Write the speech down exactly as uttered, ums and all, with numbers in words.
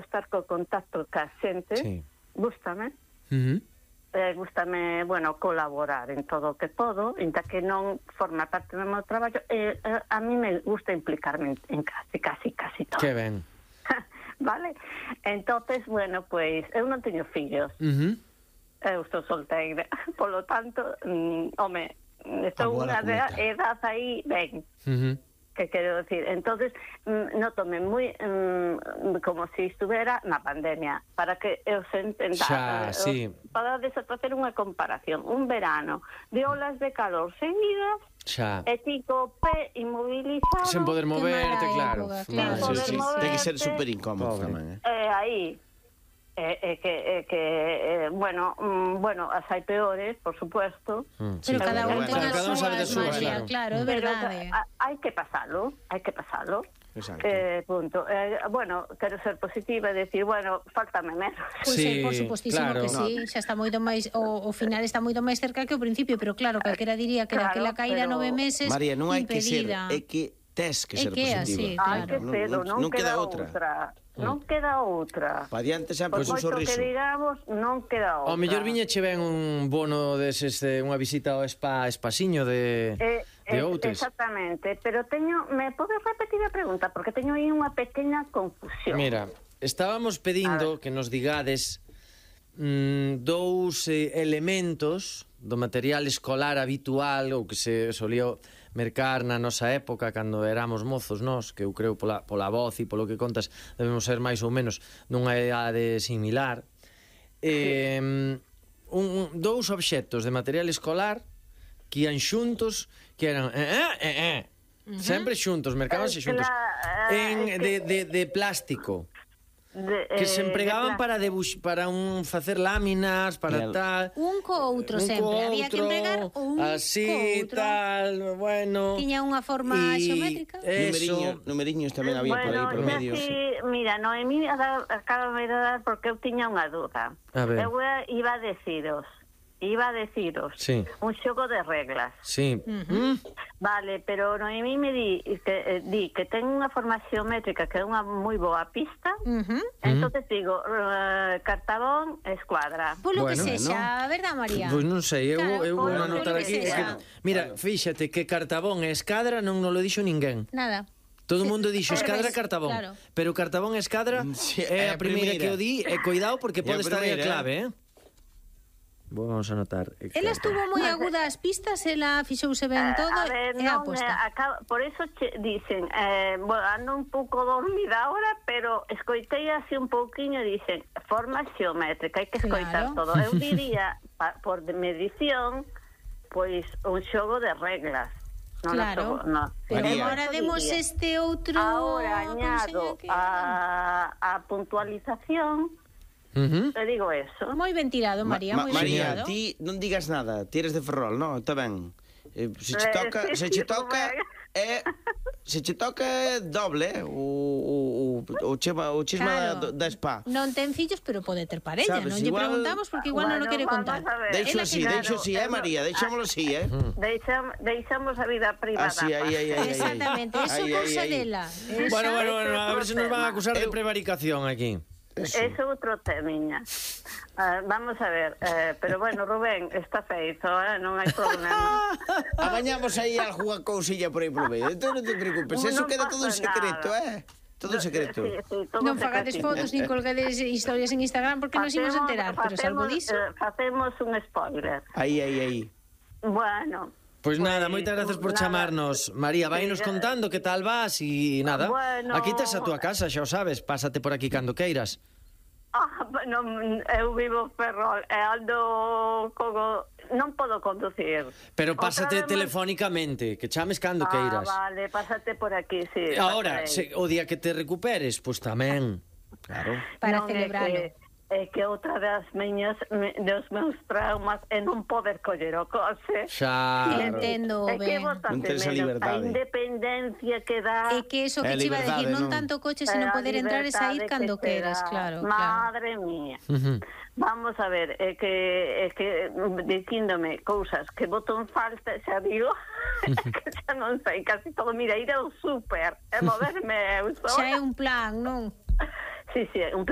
estar co contacto ca xente, Sí. gústame. Uh-huh. Eh, gústame, bueno, colaborar en todo o que podo, ainda que non forma parte do meu traballo, eh, eh, a mí me gusta implicarme en, en casi, casi, casi todo. Que ben. Vale? Entonces, bueno, pois, pues, eu non teño fillos. Uh-huh. Eu estou solteira, polo tanto, mm, home, estou unha edad aí, ben. Uh-huh. Que quero decir, entonces mm, notome moi mm, como se si estuvera na pandemia, para que eu se entenda, Xa, sí. para desafacer unha comparación, un verano de olas de calor seguidas, xa, e ti co pé inmovilizado, sen poder moverte, claro. Sin Vale, poder sí, sí. moverte. Ten que ser super incómodo tamén, eh. Eh, aí é eh, eh, que, eh, que eh, bueno, mm, bueno, as hai peores, por supuesto. Mm, Pero sí. cada un bueno, ten cada a un sabe súa de súa, magia, claro. claro, é Pero verdade. a- hai que pasalo, hai que pasalo. Exacto. Eh, punto. Eh, bueno, quero ser positiva e decir, bueno, faltame menos. Pois Sí, sí, por supostísimo claro. que sí, xa está moito máis o, o final está moito máis cerca que o principio, pero claro, calquera diría que Claro, daquela caída pero- nove meses María, non hai que ser, impedida. é que tes que É ser que é positiva. así, Hai claro. que ser, non, non queda, queda outra. outra. Non queda outra. Pa diante sempre Por un moito sorriso. que digamos, non queda outra. Ao mellor viñeche ben un bono deses de unha visita ao spa Espasiño de Eh, de eh, Outes. Exactamente, pero teño, me podes repetir a pregunta porque teño aí unha pequena confusión. Mira, estábamos pedindo que nos digades mm, dous eh, elementos do material escolar habitual ou que se solía mercar na nosa época cando éramos mozos nós, que eu creo pola, pola voz e polo que contas debemos ser máis ou menos nunha idade similar. Eh, un, un, dous obxectos de material escolar que ian xuntos, que eran eh, eh, eh, eh. Uh-huh. Sempre xuntos, mercábanse Eh, xuntos cla- eh, en, es de, que- de, de plástico De, que eh, se empregaban de para debux, para un facer láminas, para Claro. tal. Un co outro un sempre, co había que outro, empregar un así, co outro. tal, bueno. Tiña unha forma y xeométrica. Eso. Numeriños, numeriños tamén había por aí por xa medio. si, mira, Noemí acaba de dar porque eu tiña unha dúda. A ver. Eu iba a deciros, iba a deciros Sí. un xogo de reglas. Sí. Uh-huh. Mm. Vale, pero Noemí me di que, eh, di que ten unha forma xeométrica que é unha moi boa pista. Uh-huh. Entonces digo, uh, cartabón, escuadra. Polo que Bueno, sexa, verdad, María? Pois non sei, eu, Claro, eu vou polo anotar que aquí. é sexa. que- mira, fíxate que cartabón e escadra non nos lo dixo ninguén. Nada. Todo o mundo dixo Al escadra revés, cartabón, claro. pero cartabón e escadra Sí, é é a a primeira que primeira. o di, e cuidado porque É a pode estar aí a primeira, clave, eh? Vamos a anotar. Ela estuvo moi aguda as pistas, ela fixouse ben todo a ver, e non, aposta. eh, acaba, por eso che, dicen, eh, bueno, ando un pouco dormida ahora, pero escoitei así un pouquiño e dicen, forma xeométrica, hai que escoitar Claro. todo. Eu diría, pa, por de medición, pois un xogo de reglas. Non Claro. xogo, no. Pero María. agora demos diría. este outro... Ahora como añado se llama que- a, a puntualización, Uh-huh. te digo eso. Moi ben tirado, María, Ma- moi ma- ben María, tirado. ti non digas nada, ti eres de Ferrol, non? Está ben. Eh, se che Eh, toca, sí, se che sí, toca Rubén. é se che toca é doble, eh, o o o chema o chisma Claro. da, da spa. Non ten fillos, pero pode ter parella. Sabes, non lle igual- preguntamos porque igual non o Bueno, quere vamos contar. a ver. Deixo Ela que así, claro, deixo así, eh, María, deixámoslo así, eh. Deixam, deixamos a vida privada. Así, aí, aí, aí, aí. Exactamente, eso Ai, ai, cousa ai. dela. Esa- Bueno, bueno, bueno, a ver se nos van a acusar de Eu- prevaricación aquí. Eso. Es outro temiña. Uh, vamos a ver, eh, pero bueno, Rubén, está feito, eh, non hai problema. Abañamos aí algunha cousilla por aí polo medio. Entón non te preocupes, Non eso queda todo en pasa secreto, nada. eh. Todo en secreto. Sí, sí, todo Non fagades secretito. fotos nin colgades historias en Instagram porque nos imos Facemos- enterar, pero salvo facemos, diso. eh, facemos un spoiler. Aí, aí, aí. Bueno, Pois nada, Pois, moitas gracias por nada. chamarnos. María, vainos Sí, ya- contando que tal vas e nada. Bueno. Aquí tes a túa casa, xa o sabes, pásate por aquí cando queiras. ah, non, eu vivo en Ferrol e ando como... non podo conducir. Pero Outra pásate vez máis- telefónicamente, que chames cando queiras. Ah, vale, pásate por aquí, sí. Ahora, pasarei. se, o día que te recuperes, pois tamén. Claro. Para Non, celebralo. É que, é que outra das miñas, me- dos meus traumas é non poder coller o coche. Xa. Sí, entendo É que ben. botante Non tes a menos a liberdade. independencia que dá. É que eso É que te iba a liberdade, decir, non non? tanto coche, eh, sino a poder entrar e sair libertade cando que te queres, dá. claro, claro. Madre mía. Ujú. Vamos a ver, é que é que dicíndome cousas que boto en falta, xa digo, que xa non sei casi todo, mira, ir ao súper e moverme eu sola. Xa é un plan, non? Sí, sí, un plan